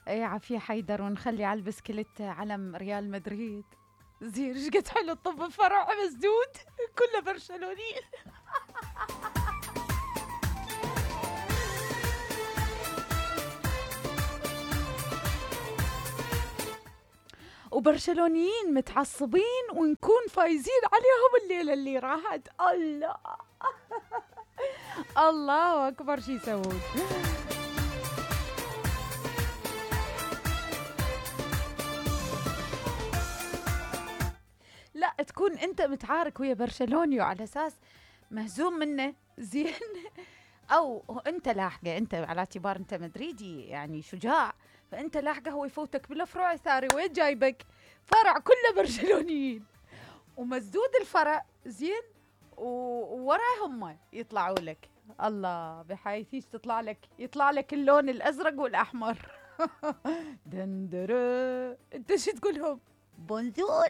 اي عافية حيدر، ونخلي على البسكليت علم ريال مدريد. زين ايش قد حلو الطب بفرع مسدود كله برشلوني. وبرشلونيين متعصبين ونكون فايزين عليهم الليلة اللي راحت. الله الله أكبر شي يسوون. لا تكون أنت متعارك ويا برشلوني وعلى أساس مهزوم منه زين، أو أنت لاحقه، أنت على اعتبار أنت مدريدي يعني شجاع، فأنت لاحقه هو يفوتك بالفروع الثاني. وين جايبك؟ فرع كله برشلونيين ومسدود الفرع زين، ووراه هم يطلعوا لك. الله بحيث يطلع لك اللون الأزرق والأحمر. دندرة أنت شو تقولهم؟ بونجور.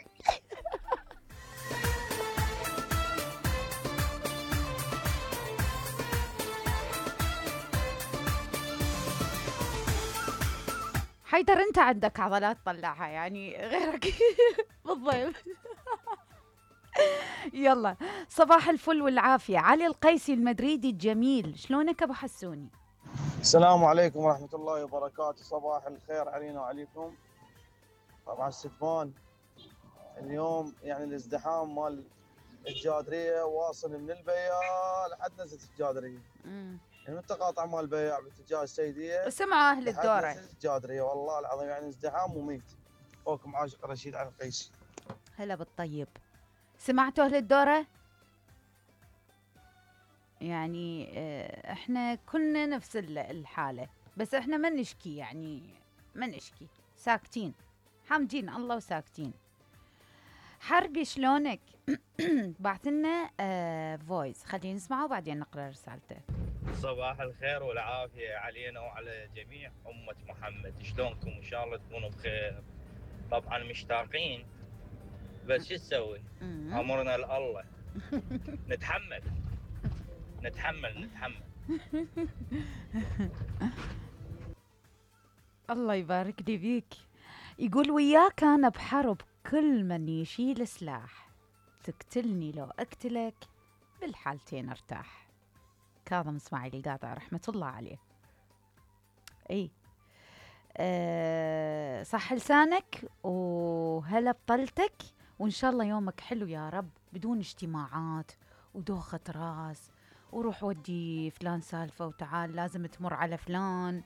حيدر انت عندك عضلات طلعها يعني غيرك بالضيف. يلا صباح الفل والعافية. علي القيسي المدريدي الجميل، شلونك ابو حسوني؟ السلام عليكم ورحمة الله وبركاته. صباح الخير علينا وعليكم. طبعا ستفان اليوم يعني الازدحام مال الجادرية واصل من البياع لحد نزلة الجادرية. يعني التقاطع مال البياع باتجاه السيدية سمعوا اهل الدورة لحد نزلة الجادرية، والله العظيم يعني ازدحام مميت. اخوكم عاشق رشيد علي القيسي. هلا بالطيب. سمعتوا اهل الدورة؟ يعني احنا كلنا نفس الحالة، بس احنا ما نشكي، يعني ما نشكي، ساكتين حامدين الله وساكتين. حربي شلونك؟ بعثلنا فويس، خلينا نسمعه وبعدين نقرأ رسالته. صباح الخير والعافية علينا وعلى جميع أمة محمد. شلونكم؟ إن شاء الله تكونوا بخير. طبعا مشتاقين، بس شو تسوي؟ أمرنا لله. نتحمل. الله يبارك لي بيك. يقول وياك أنا بحرب، كل من يشيل سلاح، تقتلني لو أقتلك، بالحالتين ارتاح. كاظم اسماعيل القاطع رحمة الله عليه. اي صح لسانك وهلا بطلتك، وإن شاء الله يومك حلو يا رب، بدون اجتماعات ودوخة راس وروح ودي فلان سالفة وتعال لازم تمر على فلان.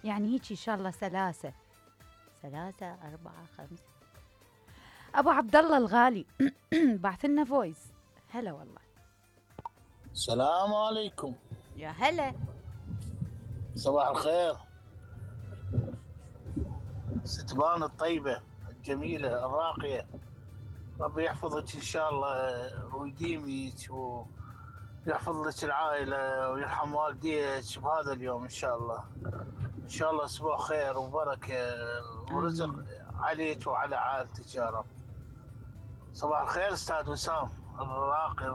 يعني هيك إن شاء الله سلاسة 4 5. أبو عبد الله الغالي بعثلنا فويس. هلا والله. السلام عليكم. يا هلا. صباح الخير. ستبان الطيبة الجميلة الراقية، ربي يحفظك إن شاء الله ويديمك ويحفظ لك العائلة ويرحم والديك بهذا اليوم إن شاء الله. إن شاء الله أسبوع خير وبركة ورزق عليك وعلى عائلتك يا رب. صباح الخير أستاذ وسام الراقي،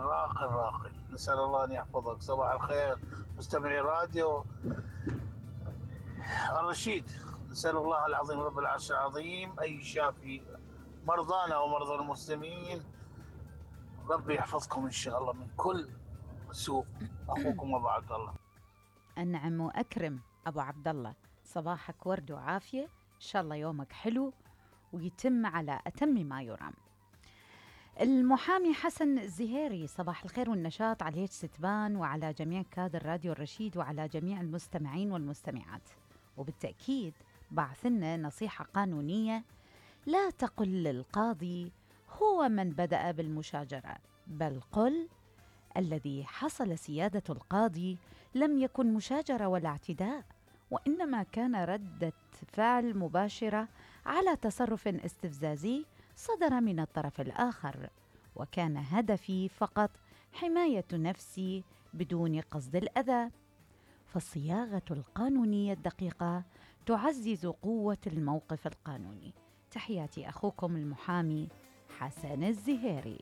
نسأل الله أن يحفظك. صباح الخير مستمعي راديو الرشيد، نسأل الله العظيم رب العرش العظيم أن يشافي مرضانا ومرضى المسلمين. ربي يحفظكم إن شاء الله من كل سوء. أخوكم أبو عبد الله. أنعم وأكرم أبو عبد الله، صباحك ورد وعافية، إن شاء الله يومك حلو ويتم على أتم ما يرام. المحامي حسن الزهيري، صباح الخير والنشاط عليك ستبان وعلى جميع كادر راديو الرشيد وعلى جميع المستمعين والمستمعات. وبالتأكيد بعثنا نصيحة قانونية: لا تقل للقاضي هو من بدأ بالمشاجرة، بل قل الذي حصل سيادة القاضي لم يكن مشاجرة ولا اعتداء، وإنما كان ردة فعل مباشرة على تصرف استفزازي صدر من الطرف الآخر، وكان هدفي فقط حماية نفسي بدون قصد الأذى. فالصياغة القانونية الدقيقة تعزز قوة الموقف القانوني. تحياتي أخوكم المحامي حسن الزهيري.